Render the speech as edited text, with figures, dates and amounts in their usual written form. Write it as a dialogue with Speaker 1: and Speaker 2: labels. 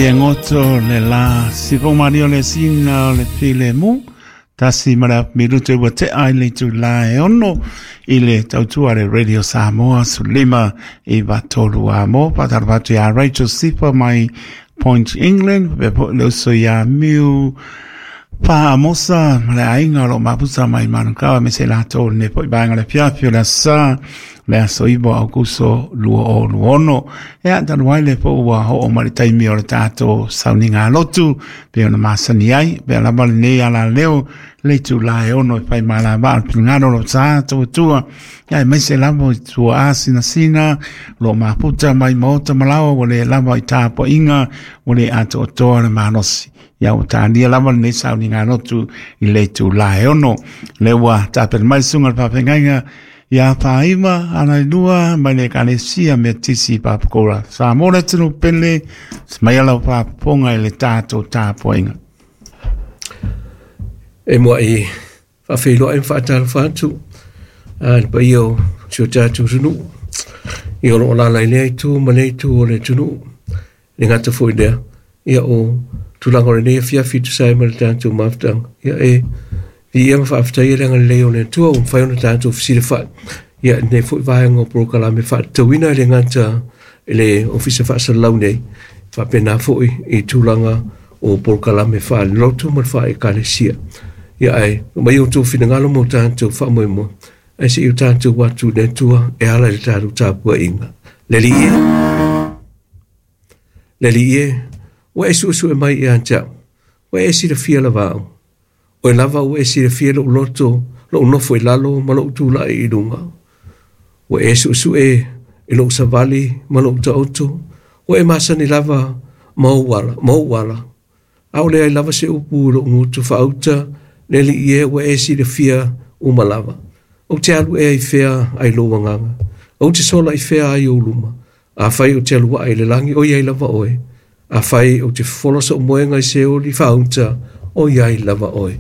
Speaker 1: E goto le la si fo maria le sina o le filemu tasi ma le minute ua tea i le itulā e 6 i le tautua le Radio Samoa 15 93 a mo faatalofa atu iā Rachel Sifa mai Point England, faapea foi le uso iā Miu Faamosa ma le aiga o loo mapusa mai Manukau, me se latou lenei foi vaega o le afiafi o le aso Sā, le aso 9 Aukuso 2026. Ia talu ai le po ua oo mai le taimi o le tatou sauniga lotu pe ona masani ai pe lava lenei ala leo le itulā e 6 e fai malavaa le finagalo lo sa tautua ia mai se lava i tua asinasina lo maputa mai maota malawa ua le lava i tapuaiga ua le atoatoa le malosi. Ia ua tālia lava lenei sauniga lotu i le itulā e 6. Le ua tapena mai le susuga i le faafeagaiga ia Faaima Alailua mai le Ekalesia Metisi Papakoura Samoa le atunuu pele mai ala faafofoga i le tatou tapuaiga.
Speaker 2: E muai faafeiloai ma faatalofa atu a le paia o si o tatou atunuu ia o loo alaala i lea itu ma lea itu o le atunuu. Le gata foi lea, ia o tulaga o lenei afiafi tusa ai ma le tatou mafutaga, ia e viia ma faafetaia le agalelei o le Atua ua mafai ona tatou fesilafai ia lenei foi vaega o polokalame faatatauina e le gata i le Ofisa Faasalalau nei, faapena foi i tulaga o polokalame faalelotu ma le faale-Ekalesia. Ia ae mai outou finagalo mo tatou faamoemoe, ae seia o tatou atu i le Atua e ala i le tatou tapuaiga. Le Alii e, le Alii e, ua e suesue mai ia te au, ua e silafia lava au. Oe lava ua e silafia lou loto, lou nofo i lalo ma lou tulai i luga. Ua e suesue i lou savali ma lou taoto, ua e masani lava ma ou ala, ma ou ala. Aole ai lava se upu i lou gutu faauta, le Alii e ua e silafia uma lava. Ou te alu ea i fea ai lou agaga, ou te sola i fea ai ou luma. Afai ou te alu ae i le lagi, o iai lava oe. Afai ou te fofola sou moega i Seoli faauta, o iai lava oe.